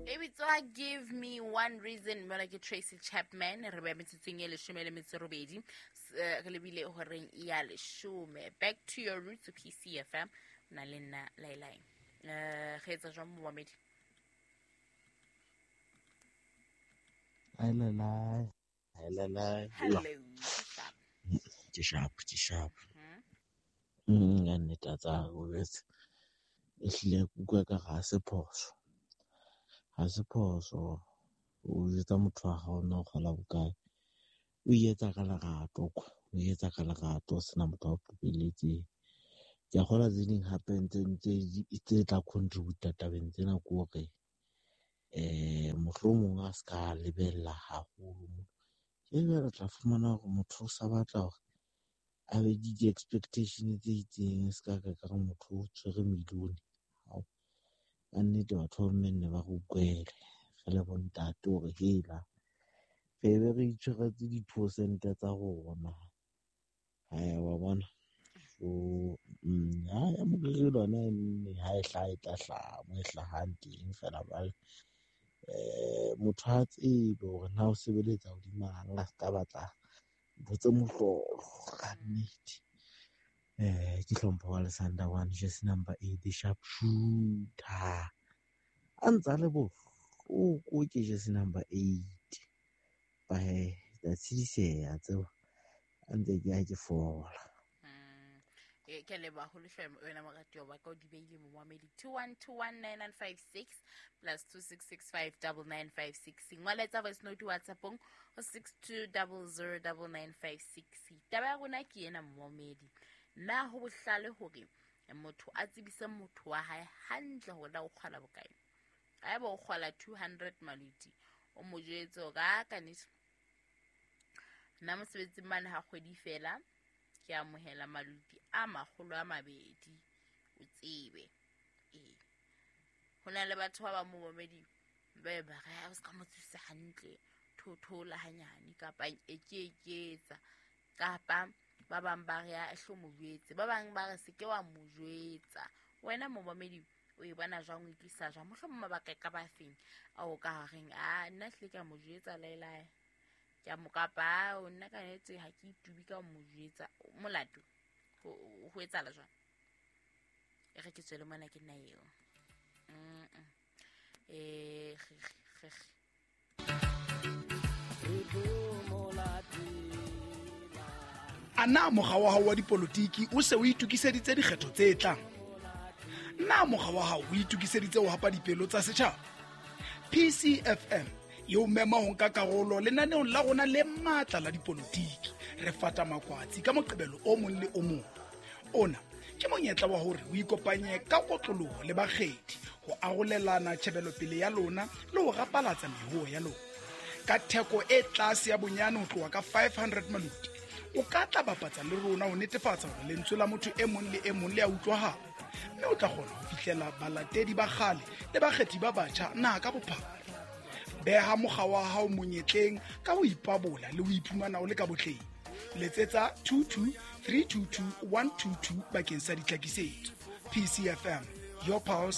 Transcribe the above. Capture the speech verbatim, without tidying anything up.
E bitswa Give Me One Reason, mona ke Tracy Chapman. Re beya metsotsong e leshome le metso robedi, S- eh, re lebile horeng ya leshome. Back to your roots, P C F M, na le nna Lailai. um re etsa jwang, momamedi? Hi Lailai. Hi Lailai. Hello. Sharp. Ke sharp, ke sharp. Hmm? Mm, ya nnete a tsa o jwetse. Ehlile ke utlwa ka ha se phoso. Ha se phoso o jwetsa motho wa hao na o kgola bokae. O e etsa ka lerato kwa. O e etsa ka lerato o sena motho a o qobelletseng. Ke a kgolwa tse ding hape ntse ntse tse tla contribute tabeng tsena ke hore eh mohlomong a ska lebella haholo. Ke jwale re tla fumana hore motho o sa batla hore a be le di-expectation tse itseng, se ka ka ka re motho o tshwere million. Hao, ka nnete batho ba bomme nne ba re utlwele re le bo ntate hore hela re be re itshwaretse di-percent tsa rona. Haya wa bona. So mm, ha ya moriri lona nne ha e hlaha e tla hlaha mo e hlahang teng fela jwale. Eh motho ha tsebe hore na o sebeletsa hodima eng, a ska batla ntho tse mohlolo ka nnete. Eh ke hlompho wa Lesanda one, jersey number eight, the sharp shooter. A ntsa le bohloko ke jersey number eight. Ba he, ka tshidiseha tseba a ntse ke ya ke fola. Mm. Eh, ke a leboha haholo hle wena moratuwa wa ka, o di beile, momamedi. Two one two one nine nine five six plus two six six five double nine five six. Ngwaletsa voice note WhatsAppong ho six two double zero double nine five six. Taba ya rona ke ena, momamedi: na ho bohlale hore motho a tsebise motho wa hae hantle hore na o kgola bokae? Haeba o kgola two hundred maluti, o mo jwetse hore a ka nnete nna mosebetsing mane ha kgwedi fela ke amohela maluti a makgolo a mabedi, o tsebe. Ee, ho na le batho ba bang, momamedi, ba be ba re o se ka mo tsebisa hantle, thothola hanyane kapa e ke eketsa, kapa ba bang ba re a hlo mo jwetse, ba bang ba re se ke wa mo jwetsa. Wena momamedi, o e bona jwang? O utlwisa jwang? Mohlomong mabaka e ka ba feng ao ka reng a nna hlile ke a mo jwetsa laelae, ke a mo, kapa o nna ka nnete ha ke itubi ka ho mo jwetsa molato? ho ho etsahala jwang? E re ke tswele mona, ke nna eo. Mm eh ge ge A na mokga wa hao wa dipolotiki o se o itokiseditse dikgetho tse tlang? Na mokga wa hao o itokiseditse ho hapa dipelo tsa setjhaba? P C F M e o mema ho nka karolo lenaneong la rona le matla la dipolotiki, Re Fata Makwatsi, ka Moqebelo o mong le o mong. Ona ke monyetla wa hore o ikopanye ka kotloloho le bakgethi ho arolelana tjhebelopele ya lona le ho rapalatsa mehoo ya lona. Ka theko e tlase ya bonyane ho tloha ka five hundred maluti, o ka tla bapatsa le rona ho netefatsa hore lentswe la motho e mong le e mong le a utlwahala, mme o tla kgona ho fihlela balatedi ba kgale le bakgethi ba batjha naha ka bophara. Beha mokga wa hao monyetleng ka ho ipabola le ho iphumana o le ka botleng. Letsetsa two two three two two one two two bakeng sa ditlhakisetso. P C F M, your pulse.